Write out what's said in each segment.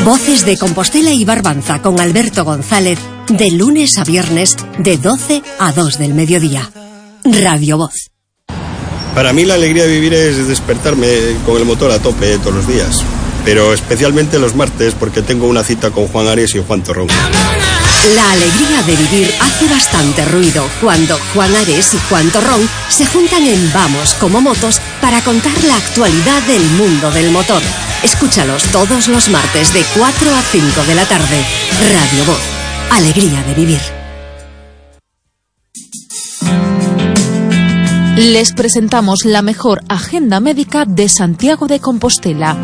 Voces de Compostela y Barbanza con Alberto González, de lunes a viernes, de 12 a 2 del mediodía. Radio Voz. Para mí la alegría de vivir es despertarme con el motor a tope todos los días, pero especialmente los martes porque tengo una cita con Juan Ares y Juan Torrón. La alegría de vivir hace bastante ruido cuando Juan Ares y Juan Torrón se juntan en Vamos como Motos para contar la actualidad del mundo del motor. Escúchalos todos los martes de 4 a 5 de la tarde. Radio Voz. Alegría de vivir. Les presentamos la mejor agenda médica de Santiago de Compostela.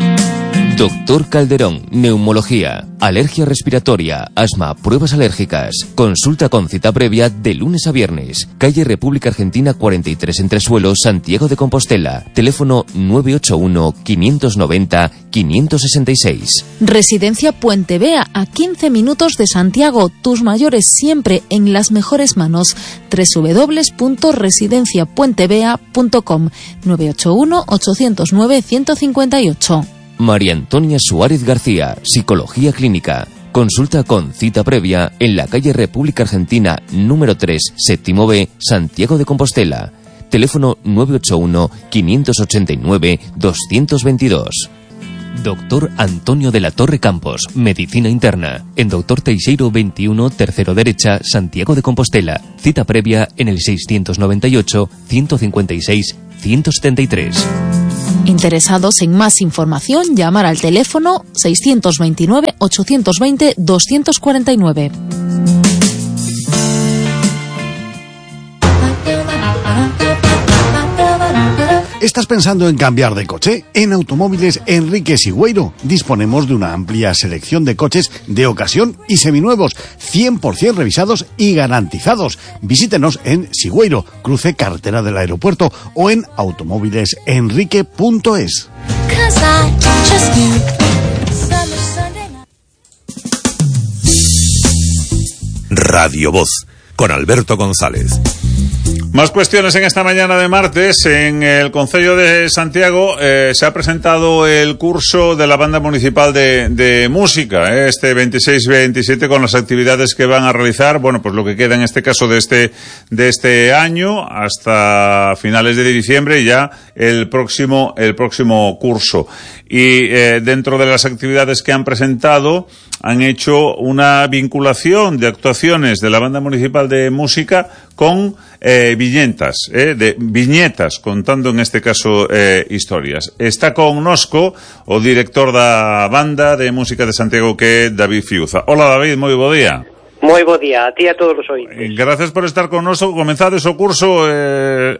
Doctor Calderón, neumología, alergia respiratoria, asma, pruebas alérgicas. Consulta con cita previa de lunes a viernes. Calle República Argentina 43 Entresuelo, Santiago de Compostela. Teléfono 981-590-566. Residencia Puente Vea, a 15 minutos de Santiago. Tus mayores siempre en las mejores manos. www.residenciapuentevea.com 981-809-158. María Antonia Suárez García, Psicología Clínica. Consulta con cita previa en la calle República Argentina número 3, séptimo B, Santiago de Compostela. Teléfono 981-589-222. Doctor Antonio de la Torre Campos, Medicina Interna. En Doctor Teixeiro 21, tercero derecha, Santiago de Compostela. Cita previa en el 628-156-173. Interesados en más información, llamar al teléfono 629-820-249. ¿Estás pensando en cambiar de coche? En Automóviles Enrique Sigüeiro disponemos de una amplia selección de coches de ocasión y seminuevos, 100% revisados y garantizados. Visítenos en Sigüeiro, cruce carretera del aeropuerto, o en automóvilesenrique.es. Radio Voz, con Alberto González. Más cuestiones en esta mañana de martes. En el Concello de Santiago se ha presentado el curso de la Banda Municipal de Música, este 26-27, con las actividades que van a realizar, bueno, pues lo que queda en este caso de este año hasta finales de diciembre y ya el próximo curso. Y dentro de las actividades que han presentado, han hecho una vinculación de actuaciones de la Banda Municipal de Música con viñetas, contando en este caso historias. Está con nosco o director da Banda de Música de Santiago, que é David Fiuza. Hola David, moi bo día. Moi bo día, a ti e a todos os ointes. Gracias por estar con nosco. Comenzades o curso,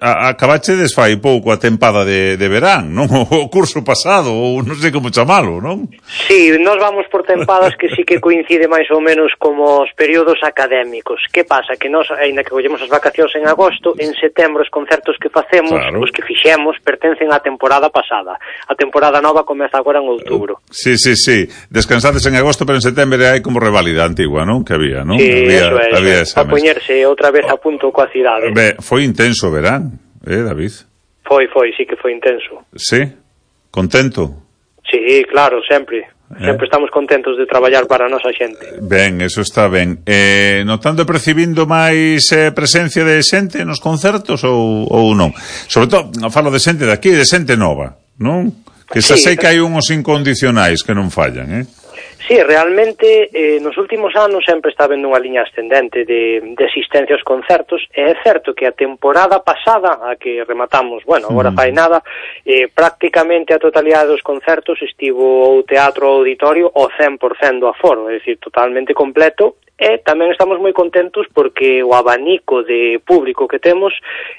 acabachedes fai pouco a tempada de verán, non? O curso pasado, ou non sei como chamalo, non? Sí, nos vamos por tempadas que sí que coincide máis ou menos como os períodos académicos. Que pasa? Que nos, ainda que collemos as vacacións en agosto, en setembro os concertos que facemos, claro, os que fixemos, pertencen á temporada pasada. A temporada nova comeza agora en outubro. Sí. Descansades en agosto, pero en setembro hai como reválida antigua, non? Que había, non? Sí, había a poñerse outra vez a punto coa cidade. Foi intenso verán, David? Foi, sí que foi intenso. Sí? Contento? Sí, claro, sempre. Sempre estamos contentos de traballar para a nosa xente. Ben, eso está ben. Notando e percibindo máis presencia de xente nos concertos ou non? Sobre todo, falo de xente de aquí, de xente nova, non? Que xa sei que hai unhos incondicionais que non fallan, Sí, realmente nos últimos anos sempre está vendo unha liña ascendente de asistencia aos concertos. É certo que a temporada pasada, a que rematamos, bueno, agora fai nada, prácticamente a totalidade dos concertos estivo o teatro auditorio ao 100% do aforo, é dicir, totalmente completo. E tamén estamos moi contentos porque o abanico de público que temos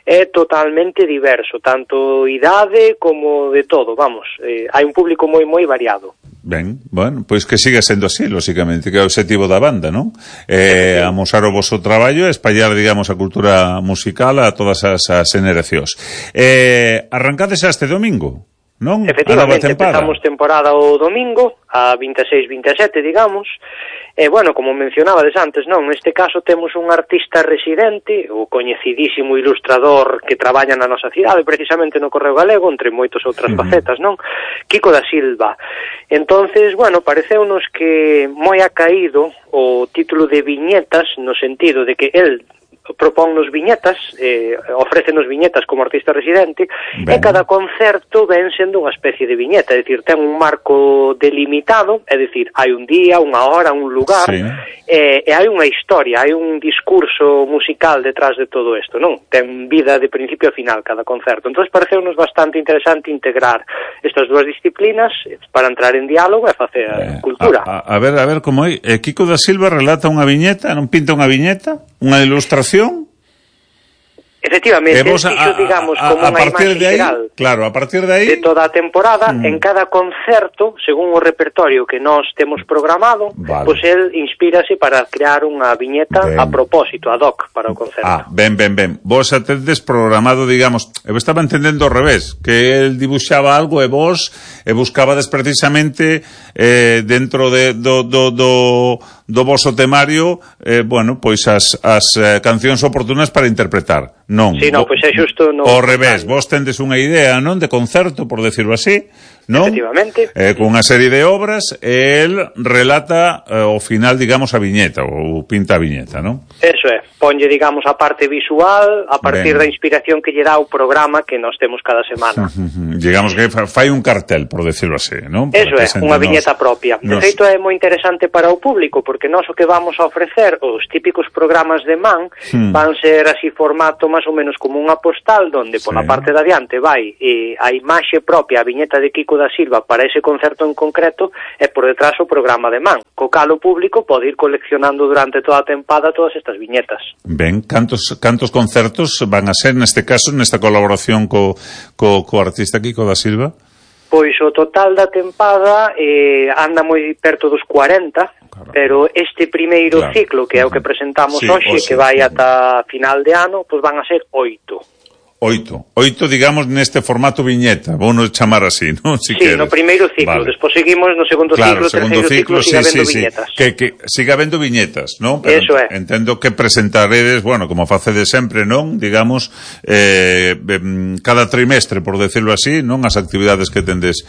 é totalmente diverso, tanto idade como de todo, vamos, hai un público moi variado. Ben, bueno, pois que siga sendo así, lóxicamente, que é o objetivo da banda, non? Amosar o voso traballo e espallar, digamos, a cultura musical a todas as generacións. Arrancades este domingo, non? Efectivamente, empezamos temporada o domingo, a 26-27, digamos, Bueno, como mencionabades antes, non? Neste caso temos un artista residente, o coñecidísimo ilustrador que traballa na nosa cidade, precisamente no Correo Galego, entre moitas outras facetas, non? Kiko da Silva. Entonces, bueno, pareceunos que moi acaído o título de viñetas, no sentido de que el proponnos viñetas, ofrécenos viñetas como artista residente, e cada concerto ven sendo unha especie de viñeta, é dicir, ten un marco delimitado, é dicir, hai un día, unha hora, un lugar, e hai unha historia, hai un discurso musical detrás de todo isto, non? Ten vida de principio a final cada concerto. Entón, pareceunos bastante interesante integrar estas dúas disciplinas para entrar en diálogo e facer cultura. A ver como é. Kiko da Silva relata unha viñeta, non pinta unha viñeta, unha ilustración. Efectivamente, iso, digamos, como unha imaxe xeral. Claro, a partir de aí de toda a temporada, en cada concerto, según o repertorio que nós temos programado, pois el inspírase para crear unha viñeta a propósito, ad hoc, para o concerto. Ben. Vos atendes programado, digamos, eu estaba entendendo ao revés, que el dibuixaba algo e vos buscabades precisamente dentro do voso temario, bueno, pois as cancións oportunas para interpretar. Non. Sí, non, pois é xusto no ao revés, vos tendes unha idea, non, de concerto, por decirlo así, non? Efectivamente. Con unha serie de obras, e el relata ao final, digamos, a viñeta, ou pinta a viñeta, non? Eso é, ponlle, digamos, a parte visual a partir da inspiración que lle dá o programa que nos temos cada semana. Digamos que fai un cartel, por decirlo así, non? Eso é, unha viñeta propia. De feito, é moi interesante para o público, porque nós o que vamos a ofrecer, os típicos programas de man, van ser así formato máis ou menos como unha postal, donde pola parte de adiante vai a imaxe propia, a viñeta de Kiko da Silva para ese concerto en concreto, e por detrás o programa de man, co cal o público pode ir coleccionando durante toda a tempada todas estas viñetas. Ben, cantos concertos van a ser neste caso, nesta colaboración co artista Kiko da Silva? Pois o total da tempada anda moi perto dos 40, pero este primeiro ciclo, que é o que presentamos hoxe, que vai ata final de ano, pois van a ser 8. Oito, digamos, neste formato viñeta, vou nos chamar así, non? Si queres. No primeiro ciclo, despois seguimos no segundo ciclo, terceiro ciclo, siga habendo viñetas. Que siga habendo viñetas, non? Pero eso é. Entendo que presentaredes, bueno, como facedes sempre, non? Digamos, cada trimestre, por decirlo así, non? As actividades que tendes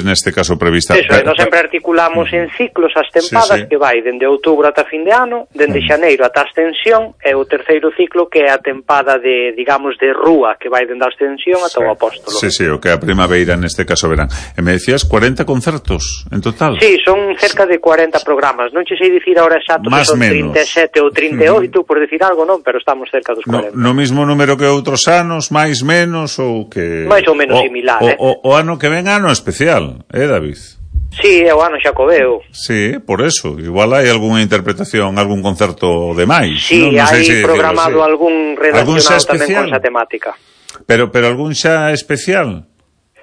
neste caso previstas. Eso é, nós sempre articulamos en ciclos as tempadas que vai dende outubro ata fin de ano, dende xaneiro ata Ascensión, e o terceiro ciclo que é a tempada de, digamos, de rúa, que vai dende a Ascensión ata o Apóstolo. Sí, o que é a primavera, neste caso verán. E me decías 40 concertos en total? Sí, son cerca de 40 programas. Non che sei dicir ahora exacto que son 37 ou 38, por decir algo, non, pero estamos cerca dos 40. No mismo número que outros anos, máis, menos, ou que... máis ou menos similar, O ano que ven ano especial, David? Sí, é o ano xacobeo. Sí, por eso. Igual hai algunha interpretación, algún concerto de máis. Sí, non hai programado algún relacionado tamén con esa temática. Pero algún xa especial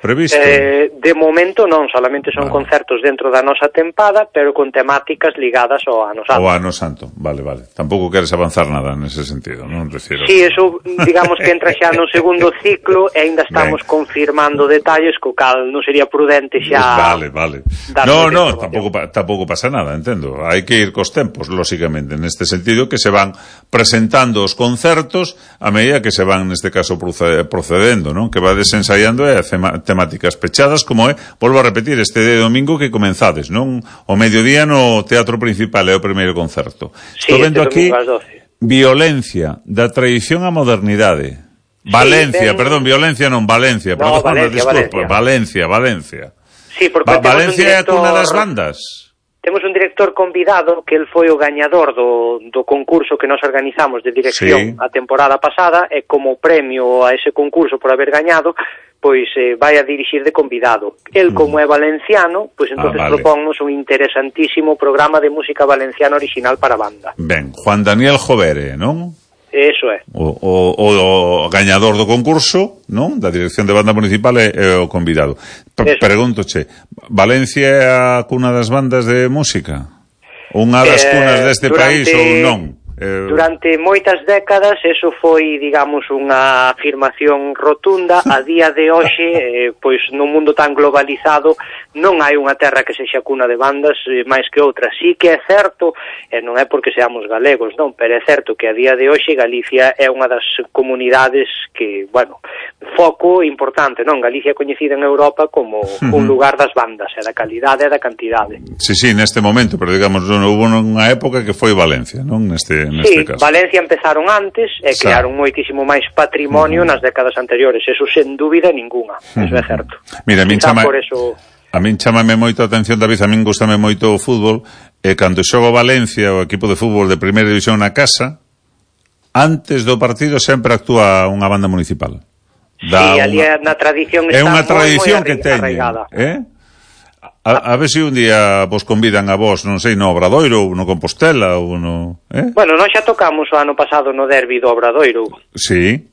previsto? De momento non, solamente son concertos dentro da nosa tempada, pero con temáticas ligadas ao Ano Santo. O Ano Santo, vale. Tampouco queres avanzar nada nese sentido, non? Sí, eso, digamos que entra xa no segundo ciclo e ainda estamos confirmando detalles, co cal non sería prudente xa... Vale. No, tampouco pasa nada, entendo. Hai que ir cos tempos, lóxicamente, neste sentido, que se van presentando os concertos a medida que se van, neste caso, procedendo, non? Que va desensaiando e temáticas pechadas, como é, volvo a repetir, este de domingo que comenzades, non? O mediodía no Teatro Principal é o primeiro concerto. Estou vendo aquí violencia, da tradición á modernidade. Valencia. Sí, porque Valencia é a cuna das bandas. Temos un director convidado que el foi o gañador do concurso que nos organizamos de dirección a temporada pasada, e como premio a ese concurso por haber gañado, pois vai a dirixir de convidado. El, como é valenciano, pois entonces propónnos un interesantísimo programa de música valenciana original para banda. Ben, Juan Daniel Jovere, non? Eso é. O gañador do concurso, non? Da dirección de banda municipal é o convidado. Pregúntoche, Valencia é a cuna das bandas de música? Unha das cunas deste país ou non? Durante moitas décadas eso foi, digamos, unha afirmación rotunda. A día de hoxe, pois nun mundo tan globalizado, non hai unha terra que sexa cuna de bandas máis que outra. Sí que é certo, e non é porque seamos galegos, non, pero é certo que a día de hoxe Galicia é unha das comunidades que, bueno, foco importante, non? Galicia é coñecida en Europa como un lugar das bandas, e da calidade e da cantidade. Sí, neste momento, pero digamos, houve unha época que foi Valencia, non? Neste caso. Valencia empezaron antes e crearon moitísimo máis patrimonio nas décadas anteriores, eso sen dúbida ninguna, eso é certo. Mira, a min chámame moito a atención, David, a min gustame moito o fútbol, e cando xogo Valencia, o equipo de fútbol de primeira división na casa, antes do partido sempre actúa unha banda municipal. Ali na tradición está é unha tradición moi que teñen, arraigada. A ver se un día vos convidan a vos, non sei, no Obradoiro ou no Compostela ou no... Bueno, nós xa tocamos o ano pasado no derbi do Obradoiro. Sí.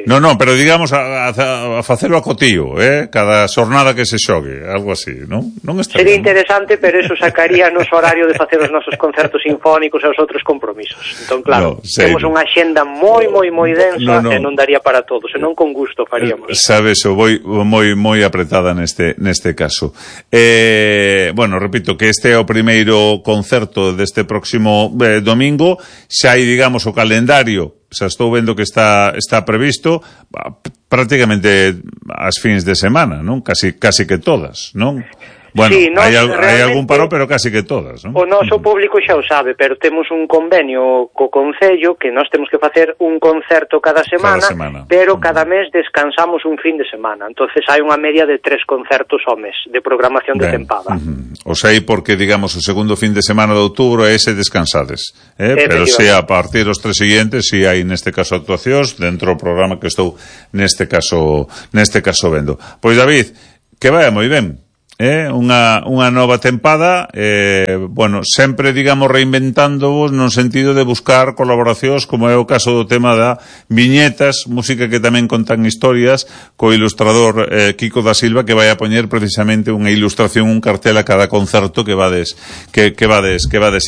No, pero digamos a facelo a cotío, cada xornada que se xogue, algo así, non? Sería interesante, pero eso sacaría nos horario de facer os nosos concertos sinfónicos e os outros compromisos. Entón, claro, temos unha xenda moi densa e non daría para todos, senón con gusto faríamos. Sabes, moi apretada neste caso. Bueno, repito que este é o primeiro concerto deste próximo domingo, xa hai, digamos, o calendario. Xa estou vendo que está previsto prácticamente as fins de semana, non? Casi que todas, non? Bueno, sí, hai algún paro, pero casi que todas, non? O noso público xa o sabe, pero temos un convenio co Concello que nós temos que facer un concerto cada semana. Pero cada mes descansamos un fin de semana. Entonces hai unha media de 3 concertos ao mes de programación de tempada. O sei porque, digamos, o segundo fin de semana de outubro é ese descansades, pero se a partir dos 3 seguintes si hai neste caso actuacións dentro do programa que estou neste caso vendo. Pois David, que vai moi ben. Unha nova tempada, bueno, sempre, digamos, reinventándovos no sentido de buscar colaboracións, como é o caso do tema da viñetas, música que tamén contan historias, co ilustrador Kiko da Silva, que vai a poñer precisamente unha ilustración, un cartel a cada concerto que vades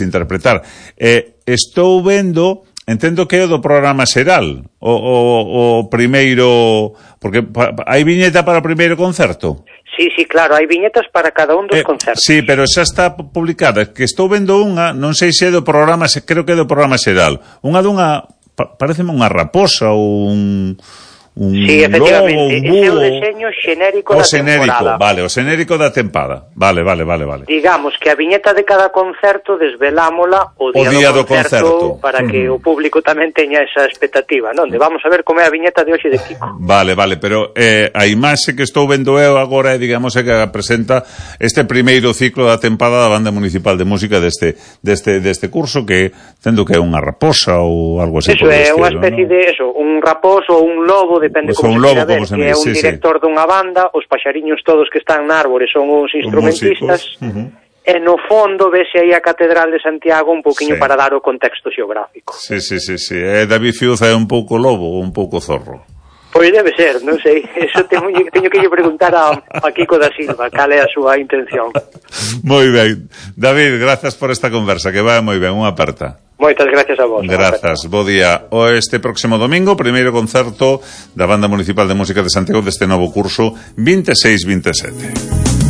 interpretar. Estou vendo, entendo que é do programa xeral, o primeiro, porque hai viñeta para o primeiro concerto? Sí, claro, hai viñetas para cada un dos concertos. Sí, pero xa está publicada, que estou vendo unha, non sei se é do programa, creo que é do programa xeral, pareceme unha raposa ou un sí, efectivamente, ese é o deseño xenérico da temporada. O xenérico da tempada. Vale. Digamos que a viñeta de cada concerto desvelámola o día do concerto para que o público tamén teña esa expectativa, non? De vamos a ver como é a viñeta de hoxe de Kiko. Vale, pero a imaxe que estou vendo eu agora é, digamos, que presenta este primeiro ciclo da tempada da Banda Municipal de Música deste curso, que tendo que é unha raposa ou algo así. Eso é unha especie de un raposo ou un lobo, depende como se quera ver, que é un director dunha banda, os paxariños todos que están na árbore son os instrumentistas, e no fondo vese aí a Catedral de Santiago un pouquiño para dar o contexto xeográfico. Sí. David Fiuza é un pouco lobo ou un pouco zorro? Pois debe ser, non sei, eso teño que lle preguntar a Kiko da Silva cal é a súa intención. Moi ben, David, grazas por esta conversa, que vai moi ben, unha aperta. Moitas gracias a vos. Grazas, bo día. Este próximo domingo, primeiro concerto da Banda Municipal de Música de Santiago deste novo curso 26-27.